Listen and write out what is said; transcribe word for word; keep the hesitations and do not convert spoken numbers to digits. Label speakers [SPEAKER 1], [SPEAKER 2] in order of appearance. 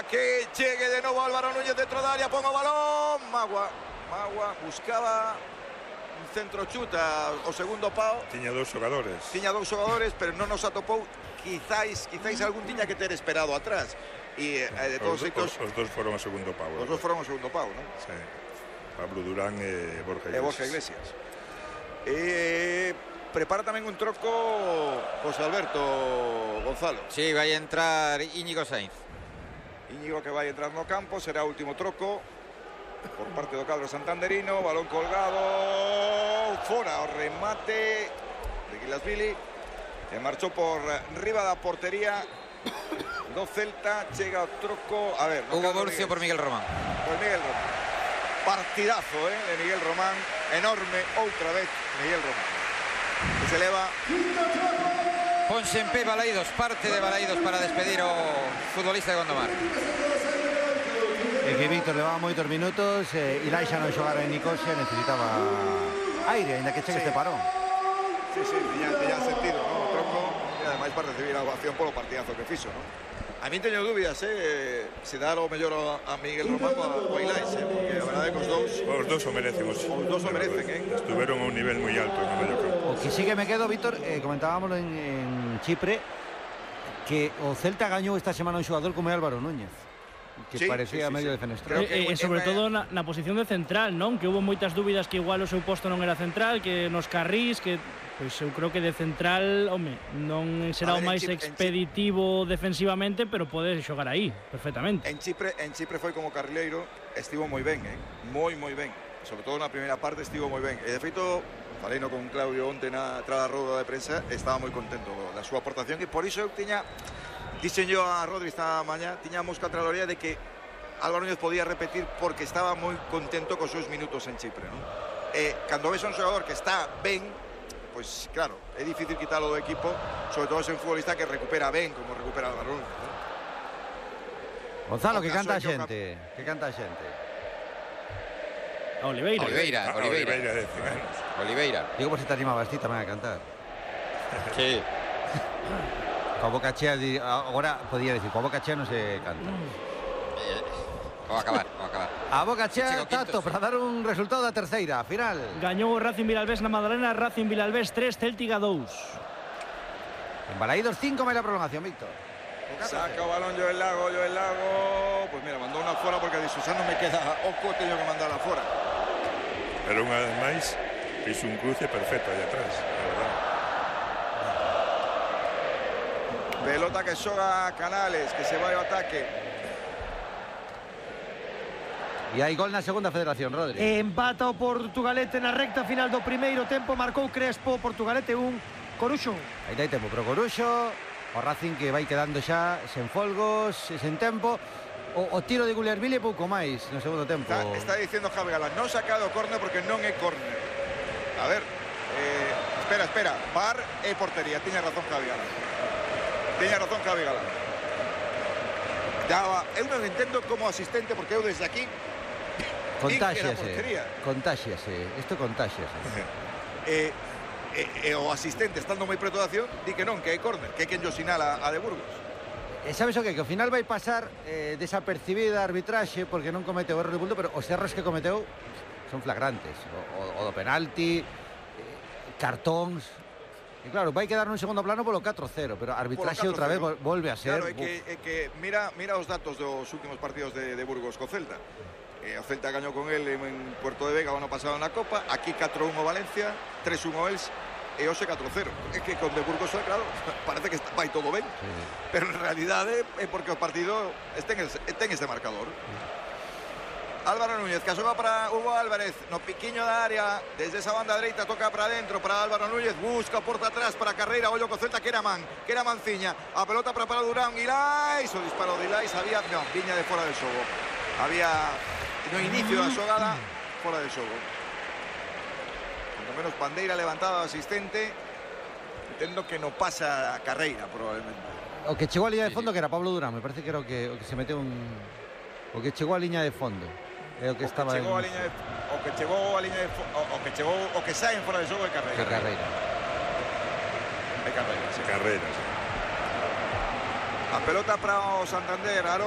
[SPEAKER 1] que llegue de novo Álvaro Núñez dentro da área, pon o balón, Magua, Magua buscaba un centro chuta o segundo pao.
[SPEAKER 2] Tiña dous xogadores.
[SPEAKER 1] Tiña dous xogadores, pero non nos atopou. Quizáis, quizáis algún tiña que ter esperado atrás. E eh, de todos
[SPEAKER 2] os,
[SPEAKER 1] xeitos
[SPEAKER 2] os, os dos foron ao segundo pau.
[SPEAKER 1] Os dos foron ao segundo pau, non?
[SPEAKER 2] Sí. Pablo Durán e Borja Iglesias.
[SPEAKER 1] E Borja Iglesias. E prepara tamén un troco José Alberto Gonzalo.
[SPEAKER 3] Sí, vai entrar Íñigo Sainz.
[SPEAKER 1] Íñigo que vai entrar no campo, será o último troco por parte do cadro santanderino. Balón colgado, fora o remate de Guilasvili, que marchou por riba da portería do Celta. Chega o troco, a ver,
[SPEAKER 3] Hugo Murcio por Miguel Román.
[SPEAKER 1] Por Miguel Román. Partidazo, eh, de Miguel Román, enorme outra vez Miguel Román. Que se eleva.
[SPEAKER 3] Ponse en pé Balaidos, parte de Balaidos para despedir o futbolista de Gondomar.
[SPEAKER 4] É que Víctor levaba moitos minutos, eh, Ilai xa non xogara en Nicosia, necesitaba aire, ainda que chegue sí. este parón.
[SPEAKER 1] Sí, sí, tiña, tiña sentido, ¿no? O troco, e ademais para recibir a ovación polo partidazo que fixo, ¿no? A mí teño dúbidas, eh, se dar o mellor a Miguel Román ou a Ilais, eh, porque a verdade é que os dous...
[SPEAKER 2] Os dous o merecen. Os,
[SPEAKER 1] os dous o merecen, eh?
[SPEAKER 2] Estuveron a un nivel moi alto no medio campo.
[SPEAKER 4] O que sí que me quedo, Víctor, eh, comentábamos en, en Chipre, que o Celta gañou esta semana un xogador como é Álvaro Núñez, que sí, parecía sí, sí,
[SPEAKER 5] sí.
[SPEAKER 4] medio defenestrado.
[SPEAKER 5] E, e sobre todo na, na posición de central, non? Que houve moitas dúbidas que igual o seu posto non era central, que nos carrís, que... Pois eu creo que de central, home, non será ver, o máis Chipre, expeditivo defensivamente, pero pode xogar aí, perfectamente.
[SPEAKER 1] En Chipre, en Chipre foi como carrileiro, estivo moi ben, eh? moi, moi ben. Sobre todo na primeira parte estivo moi ben. E de feito, faleino con Claudio onte na trada roda de prensa, estaba moi contento da súa aportación, e por iso eu tiña, dixen yo a Rodri esta mañá, tiñamos contraloría de que Álvaro Núñez podía repetir porque estaba moi contento cos seus minutos en Chipre, non? E cando ves a un xogador que está ben, pois claro, é difícil quitalo do equipo, sobre todo se un futbolista que recupera ben, como recupera Álvaro Núñez, ¿no?
[SPEAKER 4] Gonzalo, que canta a xente, que canta a xente.
[SPEAKER 5] Oliveira.
[SPEAKER 3] Oliveira,
[SPEAKER 2] ah,
[SPEAKER 3] Oliveira.
[SPEAKER 2] Oliveira, de cen anos.
[SPEAKER 3] Oliveira.
[SPEAKER 4] Digo por si te animabas ti tamén a cantar.
[SPEAKER 3] Sí.
[SPEAKER 4] Coa boca chea, agora podía decir, coa boca chea non se canta.
[SPEAKER 3] Vou acabar, vou acabar.
[SPEAKER 4] A boca chea, Tato, para dar un resultado da terceira, final.
[SPEAKER 5] Gañou o Racing Vilalbés na Madalena, Racing Vilalbés tres, Céltiga dous.
[SPEAKER 4] En Balaidos cinco, máis la prolongación, Víctor.
[SPEAKER 1] Saca o balón Joel Lago, Joel Lago. Pois mira, mandou unha fora porque a Disusán non me queda oco, teño que mandar a fora.
[SPEAKER 2] Pero unha vez máis, fixo un cruce perfecto aí atrás, a verdade.
[SPEAKER 1] Pelota que xoga Canales, que se vai ao ataque.
[SPEAKER 4] E hai gol na segunda federación, Rodri.
[SPEAKER 6] Empata o Portugalete na recta final do primeiro tempo, marcou Crespo, Portugalete un, Coruxo.
[SPEAKER 4] Aí dai tempo pro Coruxo, o Racing que vai quedando xa sen folgos, sen tempo. O, o tiro de Guglielmini pouco máis no segundo tempo.
[SPEAKER 1] Está, está dicindo Javi Galán, non sacado córner porque non é córner. A ver, eh, espera, espera, V A R e portería, tiña razón Javi Galán. Tiña razón Javi Galán. Ya, eu non entendo como asistente, porque eu desde aquí
[SPEAKER 4] contáxiase, contáxiase, isto contáxiase.
[SPEAKER 1] eh, eh, eh, o asistente estando moi preto da acción di que non, que hai córner, que é quen yo sinala a de Burgos.
[SPEAKER 4] E sabes o que? Que ao final vai pasar eh, desapercibida a arbitraxe porque non cometeu erro de bulto, pero os erros que cometeu son flagrantes. O, o, o do penalti, eh, cartóns. E claro, vai quedar nun segundo plano polo catro cero, pero a arbitraxe outra vez volve a ser.
[SPEAKER 1] Claro, é que, é que mira, mira os datos dos últimos partidos de, de Burgos co Celta. Eh, o Celta gañou con el en Puerto de Vega o ano pasado na Copa, aquí catro uno Valencia, tres uno Els e hoxe catro cero. É que con de Burgos, claro, parece que está, vai todo ben, sí. Pero en realidade é porque o partido ten este marcador. Sí. Álvaro Núñez, que xoga para Hugo Álvarez no piquiño da área, desde esa banda dereita toca para dentro para Álvaro Núñez, busca porta atrás para Carreira, ollo co Celta, que era man, que era Manciña, a pelota para Pablo Durán, Ilais, o disparo de Ilais, había, no, viña de fora del xogo, había no inicio da xogada, fora del xogo. Por lo menos bandeira levantada do asistente, entendo que no pasa a Carreira, probablemente.
[SPEAKER 4] O que chegou a liña de fondo, que era Pablo Durán, me parece que era o que, o que se meteu un... O que chegou a liña de fondo. É o que
[SPEAKER 1] o
[SPEAKER 4] estaba
[SPEAKER 1] que chegou
[SPEAKER 4] en...
[SPEAKER 1] a liña de, o que chegou a liña de o, o que chegou o que saen fora de xogo é Carreira.
[SPEAKER 4] Que Carreira.
[SPEAKER 1] É Carreira, sí.
[SPEAKER 2] Carreira, sí.
[SPEAKER 1] A pelota para o Santander, Aro.